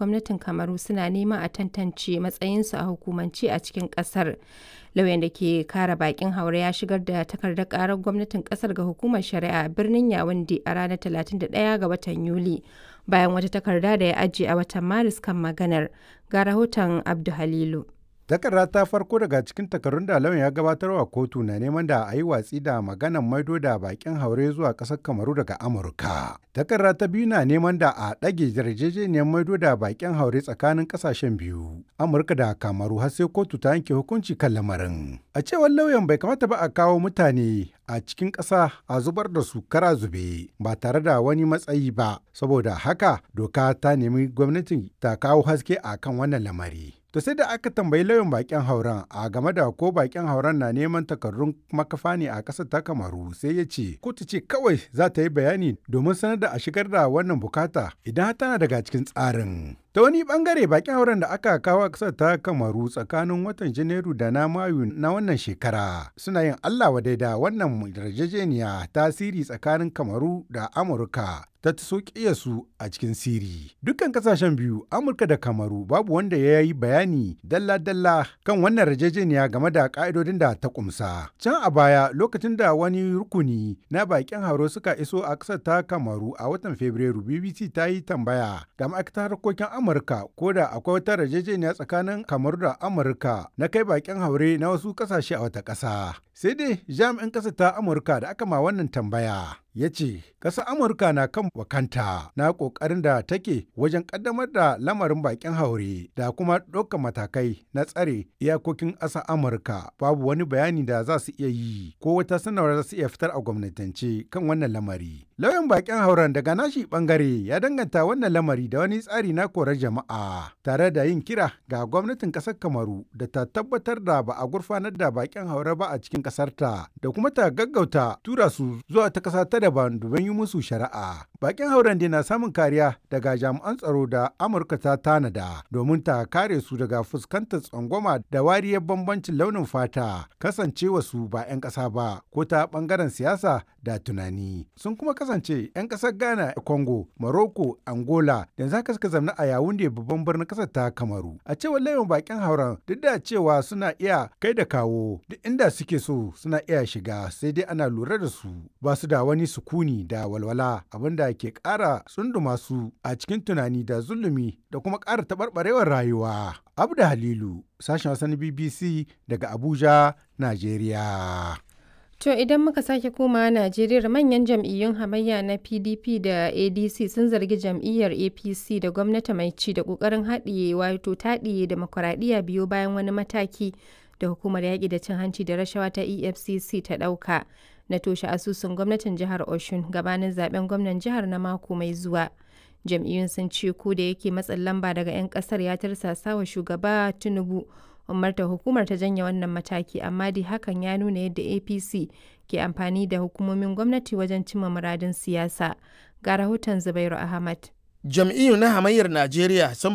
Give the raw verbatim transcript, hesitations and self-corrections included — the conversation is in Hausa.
gwamnatin Kamaru suna neman a tantance matsayinsu a hukumance a cikin kasar. Lauyan da ke kare bakin haure ya shigar da takardar karar gwamnatin kasar ga hukumar shari'a a birnin Yawunde a ranar talatin da ɗaya ga watan Yuli, bayan wata takarda da ya ajiye a watan Maris kan maganar. Ga rahoton Abdu Halilu. Takarda ta farko daga cikin takarun da lauyan ya gabatar wa kotu na neman da a yi watsi da maganan maido da bakin haure zuwa ƙasar Kamaru daga Amurka. Takarda ta biyu na neman da a ɗage yarjejeniyar maido da bakin haure tsakanin ƙasashen biyu, Amurka da Kamaru, har sai kotu ta yanke hukunci kan lamarin. A cewar lauyan, bai kamata ba a kawo mutane a cikin ƙasa a zubar da su kara zube ba tare da wani matsayi ba, saboda haka doka ta nemi gwamnatin ta kawo haske a kan wannan lamari. To sai da aka tambayi lauyan bakin hauren a game da ko bakin hauren na neman takardun makafa ne a ƙasar ta Kamaru, sai ya ce kotu ce kawai za ta yi bayani domin sanar da a shigar da wannan bukata idan har tana daga cikin tsarin. Ta wani bangare, bakin hauren da aka kawo a ƙasar ta Kamaru tsakanin watan Janairu da na Mayu na wannan shekara suna yin Allah wadai da wannan yarjejeniya tasiri tsakanin Kamaru da Amurka ta taso su a cikin siri. Dukkan kasashen biyu, Amurka da Kamaru, babu wanda ya yi bayani dalla-dalla kan wannan yarjejeniya game da ka'idodin da ta kumsa. Can a baya, lokacin da wani rukuni na bakin hauro suka iso a ƙasar ta Kamaru a watan Fabrairu, B B C ta yi tambaya ga ma'aikatar harkokin Amurka ko da akwai wata yarjejeniya tsakanin Kamaru da Amurka na kai bakin haure na wasu ƙasashe a wata ƙasa. Sai dai jami'in ƙasar ta Amurka da aka ma wannan tambaya ya ce ƙasar Amurka na kan wakanta na ƙoƙarin da take wajen ƙaddamar da lamarin bakin haure da kuma ɗaukar matakai na tsare iyakokin ƙasar Amurka. Babu wani bayani da za su iya yi ko wata sanarwa za su iya fitar a gwamnatance kan wannan lamari. Lauyan bakin hauren daga nashi bangare ya danganta wannan lamari da wani tsari na korar jama'a, tare da yin kira ga gwamnatin ƙasar Kamaru da ta tabbatar da ba a gurfanar da bakin haure ba a cikin ƙasarta da kuma ta gaggauta tura su zuwa ta ƙasa ta daban domin yi musu shari'a. Bakin hauren dai na samun kariya daga jami'an tsaro da Amurka ta tanada domin ta kare su daga fuskantar tsangwama da wariyar bambancin launin fata, kasancewa su ba 'yan ƙasa ba ko ta ɓangaren siyasa da tunani. Sun kuma kasance 'yan ƙasar Ghana, Congo, Morocco, Angola, da yanzu haka suka zamna a Yaounde, babban birnin ƙasar ta Kamaru. A cewar lauyan bakin hauren, duk da cewa suna iya kai da kawo duk inda suke so, suna iya shiga, sai dai ana lura da su, ba su da wani sukuni da walwala, abinda ke ƙara tsunduma su a cikin tunani da zulumi da kuma ƙara taɓarɓarewar rayuwa. Abda Halilu, sashen Hausa na B B C daga Abuja, Najeriya. To idan muka sake komawa Najeriya, manyan jam'iyyun hamayya na P D P da A D C sun zargi jam'iyyar A P C da gwamnati mai ci da ƙoƙarin haɗiye wato taɗiye dimokuraɗiyya biyo bayan wani mataki da hukumar yaƙi da cin hanci da rashawa ta E F C C ta ɗauka na toshe asusun gwamnatin jihar Osun gabanin zaben gwamnan jihar na mako mai zuwa. Jam'iyyun sun ce ko da yake matsin lamba daga 'yan ƙasar ya tirsasa wa shugaba Tinubu umarta hukumar ta janye wannan mataki, amma dai hakan ya nuna yadda A P C ke amfani da hukumomin gwamnati wajen cimma muradin siyasa. Ga rahoton Zubairu Ahmad. Jam'iyyu na hamayyar Najeriya sun